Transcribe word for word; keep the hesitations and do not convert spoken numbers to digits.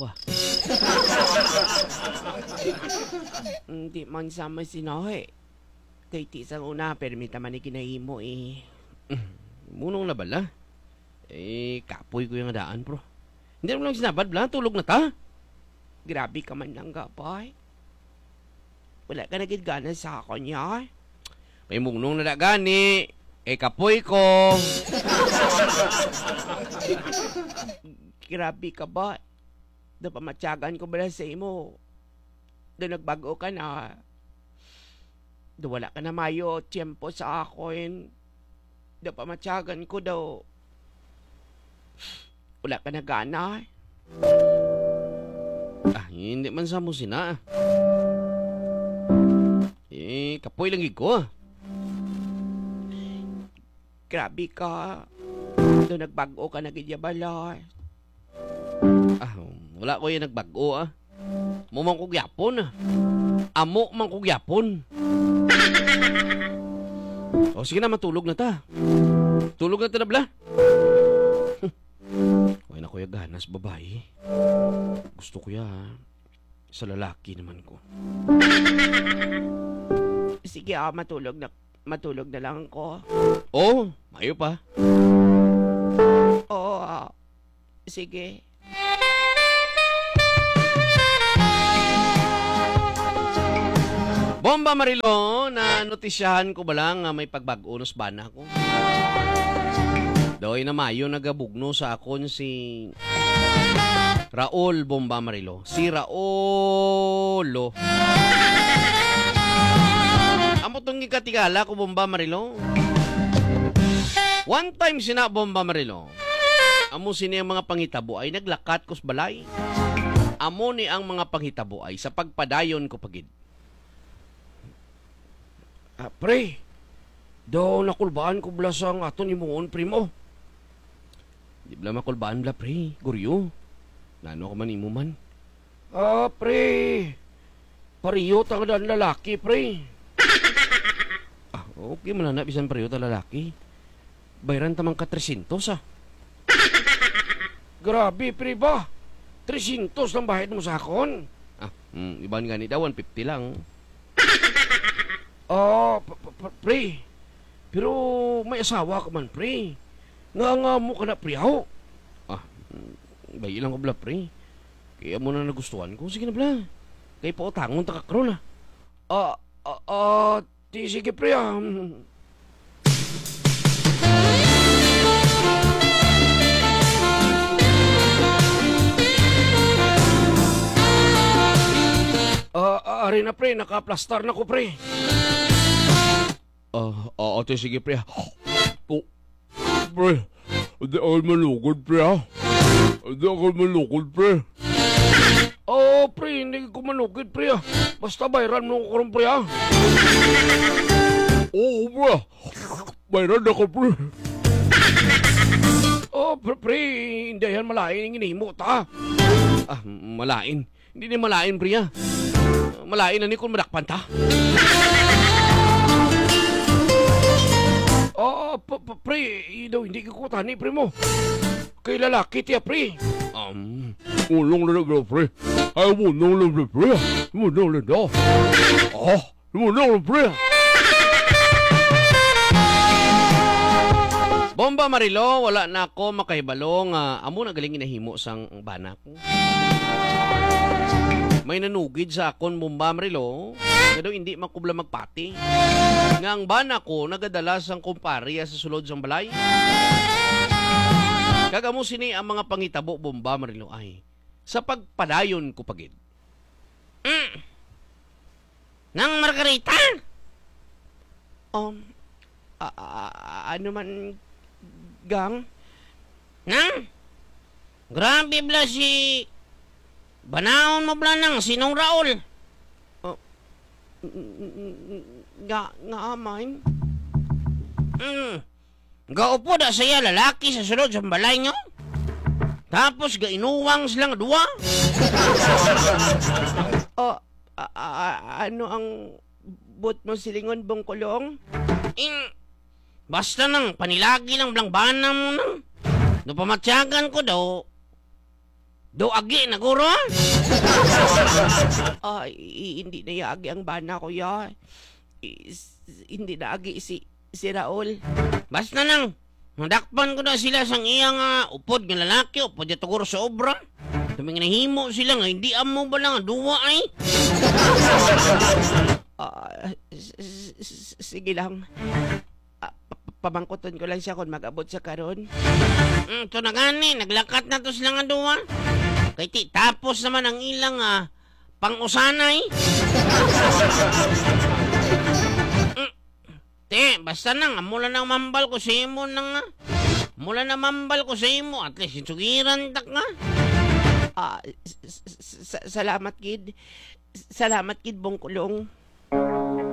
Wah. Hindi man sa masinahi. Kay ti sang una, permi ta man ni ginahimo, eh. Munong na bala? Eh, kapoy ko yung daan, bro. Hindi mo lang sinabad, bla. Tulog na ta. Grabe ka man lang, gabay. Wala ka na gid gana sa akon, ya? May munong na da gani. Eh, kapoy ko. Grabe ka ba? Daw pamatyagan ko bala sa imo. Daw nagbag-o ka na. Daw wala ka na mayo tiyempo sa akon. Daw pamatyagan ko daw wala ka na gana. Ah, hindi man sa mo sina. Eh, kapoy lang gid ko, ah. Grabe ka. Daw nagbag-o ka na gid ya bala. Ah, wala ko yung nagbag-o, ah. Amo man ko gyapon, ah. Amo man ko gyapon. O, sige na, matulog na ta. Tulog na ta na, bla. Wala na ko ya ganas, babae. Gusto ko ya, ah. Sa lalaki naman ko. Sige, ah, matulog na, matulog na lang ko. Oh, mayo pa. Oo, ah. Sige. Bomba Marilo, na notisyahan ko ba lang nga may pagbag-o na sa bana ko? Daw ay namayo nagabugno sa akon si Raul Bomba Marilo. Si Raul, oh. Amo tong gikatingala ko, Bomba Marilo. One time sina, Bomba Marilo. Amo sini ang mga panghitabo ay naglakat ko sa balay. Amo ni ang mga panghitabo ay sa pagpadayon ko pa gid. Ah, pre, daw nakulbaan ko bala sang aton himuon, primo. Di bala makulbaan bala, pre. Guryo. Nano ka man imo man? Ah, pre. Pareho ta nga lalaki, pre. Ah, okay man na, bisan pareho ta lalaki. Bayran ta man ka trescientos, ah. Grabe, pre ba? Trescientos lang bayad mo sa akon? Ah, mm, iban gani daw, one fifty lang. Ah, p-, p-, p-, pre. Pero may asawa ka man, pre. Nga, nga mo ka na, pre, aho? Ah, mm, bayi lang ko, bala, pre. Kaya mo na nagustuhan ko. Sige na, bala. Kay pautangon ta ka karon, ah. Ah, ah, ah, Di, sige, pre, ah. Ah, ah, ari na, pre, naka-plaster na ko, pre. Ah, ah, ate, sige, pre, ah. Oh, pre, di ako manugod, pre, ah. Di ako manugod, pre. Oh, pre, hindi ko manugid, pre, ah. Basta bayran mo ko karon, pre, ah. Oo, pre. Bayran na ko, pre. Oh, pre, pre, hindi yan malain ang ginhimo ta. Ah, malain. Hindi ni malain, pre, ah. Malain na ni kung madakpan ta. Oh, p-, p-, pre, daw hindi ko tani, pre mo. Kay lalaki tiya, pre. Um, ulong na lang, pre. Ay, ulong na lang, pre. Ulong na lang. Oh, ulong na, pre. Bomba Marilo, wala na ako makahibalo nga amo na galing ginahimo sang bana ko. May nanugid sa akon, Bomba Marilo, nga daw hindi makubla magpati nga ang bana ko nagadala sang kumparya sa sulod sang balay. Kag amo sini ang mga pangitabo, Bomba Marilo, ay sa pagpadayon ko pa gid. Mm. Nang Margarita? Um, a-, a-, a-, ano man, gang? Nang? Grabe bala si banaon mo bala nang sinong Raul? Oh, n-, n-, n-, nga, nga amay? Mm. Gaupod na siya lalaki sa sulod sa balay nyo? Tapos gainuwang silang duwa? Oh, a-, a-, a-, ano ang but mo silingon, Bongkolong? Ing, basta nang panilagi lang blangbana mo nang. Napamatyagan ko daw, Do agi na, guro? Ay, hindi na iya agi ang bana ko, ya. Is, hindi na agi si, si Raul. Basta nang, nadakpan ko na sila sang iya nga upod nga lalaki, upod niya tuguro sa obra. Tuming nahimo sila nga hindi amo ba lang duwa ay? Ah, s- s- s- sige lang. Ah, pa- pamangkuton ko lang siya kung mag-abot siya karon. Mm, to na gani, naglakat na to sila nga duwa. Kay ti tapos naman ang ilang ah, pang-usanay. Mm, te, basta nang amo lang nang mambal ko sa imo nang ah. Mula na mambal ko sa imo, at least sugiran ta ka. Ah, s- s- s- sa- salamat gid. Salamat gid, Bong Kulong.